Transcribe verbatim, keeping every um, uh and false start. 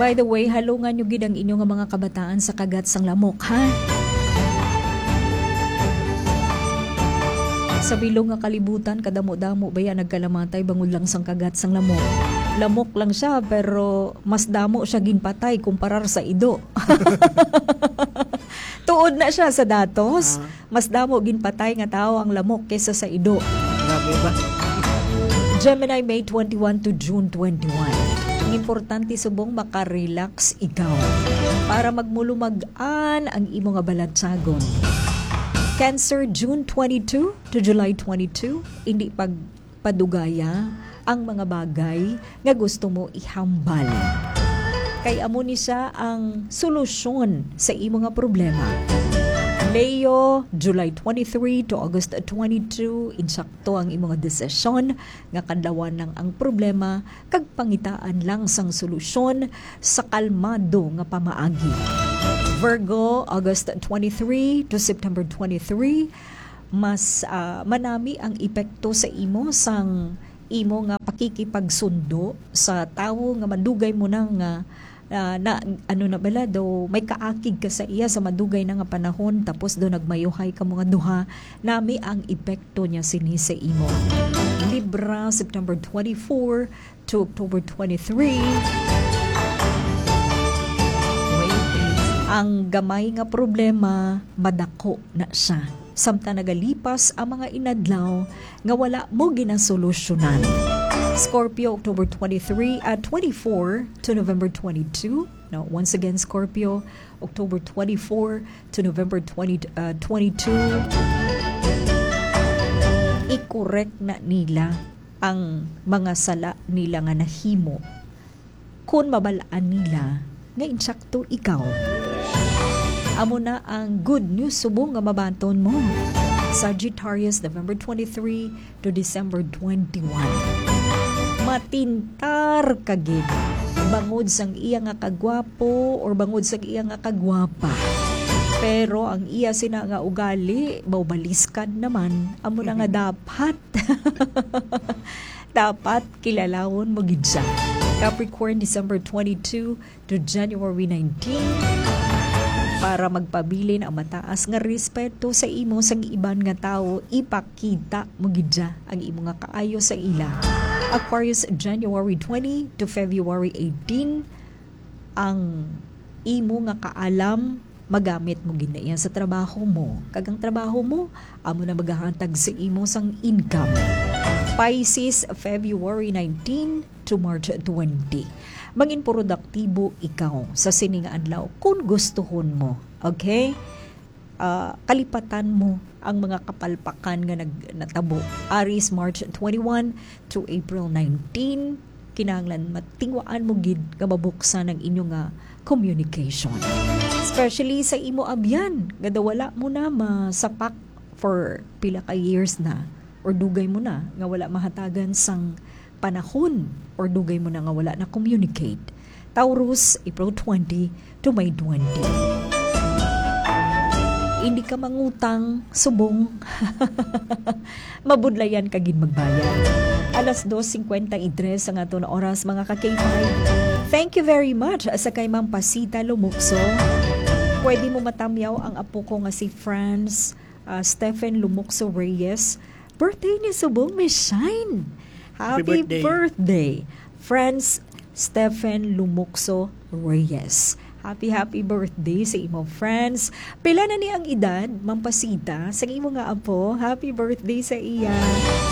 By the way, halungan nyo gid ang inyo nga mga kabataan sa kagat sang lamok, ha? Sa bilog nga kalibutan, kadamo-damo baya nagkalamatay bangod lang sang kagat sang lamok. Lamok lang siya, pero mas damo siya ginpatay kumparar sa ido. Tuod na siya sa datos. Ah. Mas damo ginpatay nga tawo ang lamok kaysa sa ido. Grabe ba? Gemini, May twenty-one to June twenty-one. Ang importante, subong, makarelax ikaw para magmulumag-an ang imo nga balatsagon. Cancer, June twenty-two to July twenty-two. Hindi pag padugaya ang mga bagay nga gusto mo ihambal. Kay amo ni siya ang solusyon sa imo nga problema. Leo, July twenty-three to August twenty-two, insakto ang imo nga desisyon nga kadlawan lang ang problema kag pangitaan lang sang solusyon sa kalmado nga pamaagi. Virgo, August twenty-three to September twenty-three, mas, ah, manami ang epekto sa imo sang imo nga pakikipagsundo sa tawo nga madugay mo na nga, ah, na, ano na bala, daw may kaakig ka sa iya sa madugay na nga panahon, tapos daw nagmayuhay ka mga duha, nami ang epekto niya sini sa imo. Libra, September twenty-four to October twenty-three. Wait, please. Ang gamay nga problema, madako na siya. Samtang nagalipas ang mga inadlaw nga wala mo ginasolusyonan. Scorpio, October twenty-three, ah, twenty-four to November twenty-two. No, once again, Scorpio, October twenty-four to November twenty, uh, twenty-two. I-correct na nila ang mga sala nila nga nahimo, kun mabal-an nila nga insakto ikaw. Amo na ang good news subong nga mabaton mo. Sagittarius, November twenty-three to December twenty-one. Matintar ka gid bangod sang iya nga kagwapo or bangod sang iya nga kagwapa. Pero ang iya sina nga ugali, maubaliskad naman, amo na nga dapat. Dapat kilalawon mo gid siya. Capricorn, December twenty-two to January nineteen. Para magpabilin ang mataas nga respeto sa imo sang iban nga tawo, ipakita mo gid siya ang imo nga kaayo sa ila. Aquarius, January twenty to February eighteen. Ang imo nga kaalam, magamit mo gid na iya sa trabaho mo. Kag ang trabaho mo, amo na magahatag sa imo sang income. Pisces, February nineteen to March twenty. Mangin produktibo ikaw sa sini nga adlaw kung gustuhon mo. Okay? Ah, kalipatan mo ang mga kapalpakan nga nag-, natabo. Aries, March twenty-one to April nineteen. Kinahanglan matingwaan mo gid nga mabuksan ang inyo nga communication. Especially sa imo abyan, nga daw wala mo na masapak for pila ka years na, or dugay mo na nga wala mahatagan sang panahon, or dugay mo na nga wala na communicate. Taurus, April twenty to May twenty. Hindi ka mangutang, subong. Mabudlayan ka gid magbayad. Alas dos cincuenta y tres ang aton oras, mga ka-K five. Thank you very much sa kay Ma'am Pasita Lumukso. Pwede mo matamyaw ang apo ko nga si Franz, ah, Stephen Lumukso Reyes. Birthday ni subong, Miss Shine. Happy Happy birthday. birthday, Franz Stephen Lumukso Reyes. Happy, happy birthday sa imo, Franz. Pila na ni ang edad, Ma'am Pasita, sa imo nga apo? Happy birthday sa iya.